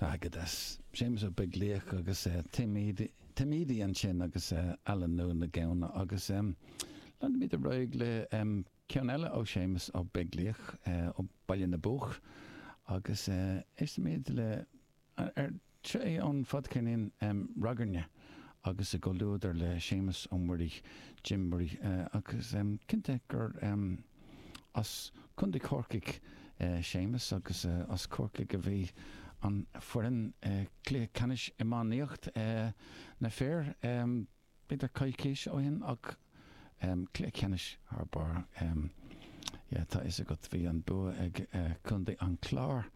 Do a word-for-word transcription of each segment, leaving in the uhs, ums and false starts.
Ah, go deas. Séamus Ó Beaglaoich agus Tim Edey ansin agus Alan Nua na Gamhna agus leanfaimid ar aghaidh le ceann eile ó Séamus Ó Beaglaoich ó Baile na Buach agus éistfimid le ar seo é ón fadcheirnín Ragairne agus i gcomhluadar le Séamus Ó Muirí, Jim Murray agus cinnte gur as Contae Chorcaigh Séamus agus as Corcaigh a bhí an foireann cluiche ceannais iománaíocht na fir b'fhéidir coicís ó shin ach cluiche ceannais thar barr yeah, tá fhios agat bhí an bua ag Contae an Chláir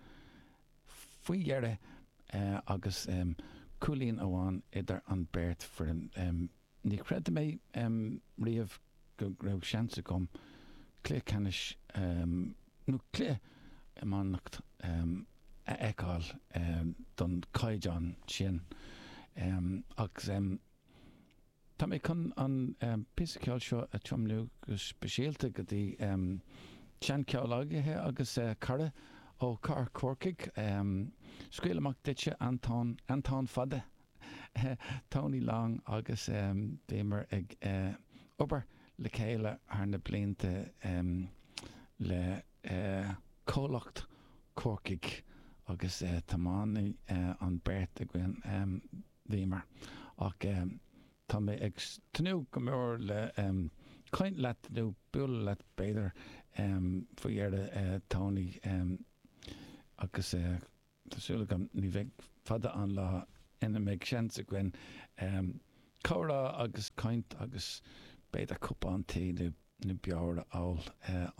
faoi dheireadh agus cúilín amháin idir an beirt foireann. Ní chreid mé riamh go raibh seans agam cluiche ceannais nó cluiche iománaíocht a fheiceáil don caighdeán sin agus tá mé chun an píosa ceoil seo a tiomnú go speisialta go dtí seancomhghleacaithe agus cara ó Chathair Chorcaigh. Scaoil amach duitse Anton Anton Fada Tony Long agus bhíomar ag obair le chéile thar na blianta le comhlacht Corcaigh agus tiománaí an beirt againn bhíomar ach tá mé ag tnúth go mór le caint leat nó bualadh leat b'fhéidir faoi dheireadh Tony agus tá súil agam ní bheidh fada an lá ina mbeidh seans againn comhrá agus caint agus b'fhéidir cupán tae nó nó beoir a ól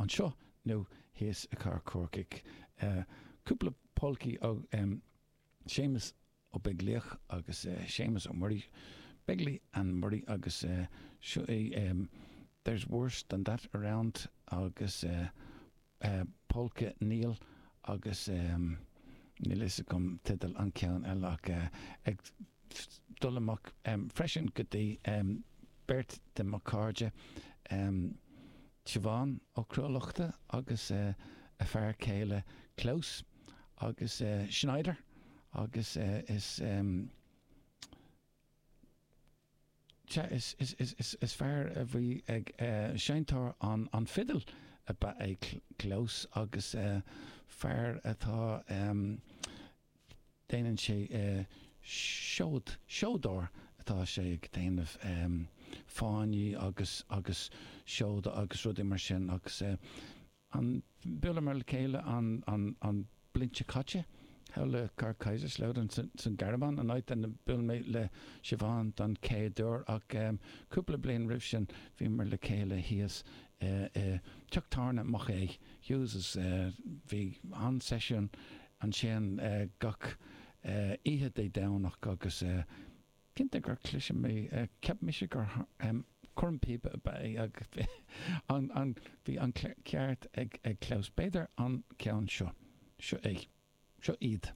anseo nó thíos i gCathair Chorcaigh. Cúpla polcaí ó Séamus Ó Beaglaoich agus Séamus Ó Muirí, Begley and Murray agus seo é There's Worse Than That Around agus Polca Neil agus níl fhios agam teideal an ceann eile ach ag dul amach freisin go dtí beirt de mo chairde Siobhán Ó Cruadhlachta agus a fear céile Klaus agus Schneider agus is Sea, is, is, is, is, is fear a bhí ag seinnteoir an, an fidil ab ea é Klaus agus fear atá, déanann sé seod, seodóir atá sé ag déanamh fáinní agus, agus seoda agus rudaí mar sin agus an, bhuaileamar le chéile an, an, an bliain seo caite thall i gcathair Kaiserslautern san Ghearmáin, an áit ina buail mé le Siobhán don chéad uair ach cúpla bliain roimh sin bhíomar le chéile thíos i dteach tábhairne Mac Aodha Hughes's. Bhí an-seisiún ansin gach oíche Dé Domhnach agus cinnte gur chlis mé, cheap mise gur cornphíopa ab ea é agus bhí an ceart ag Klaus. B'fhéidir an ceann seo. Seo é. Seo iad.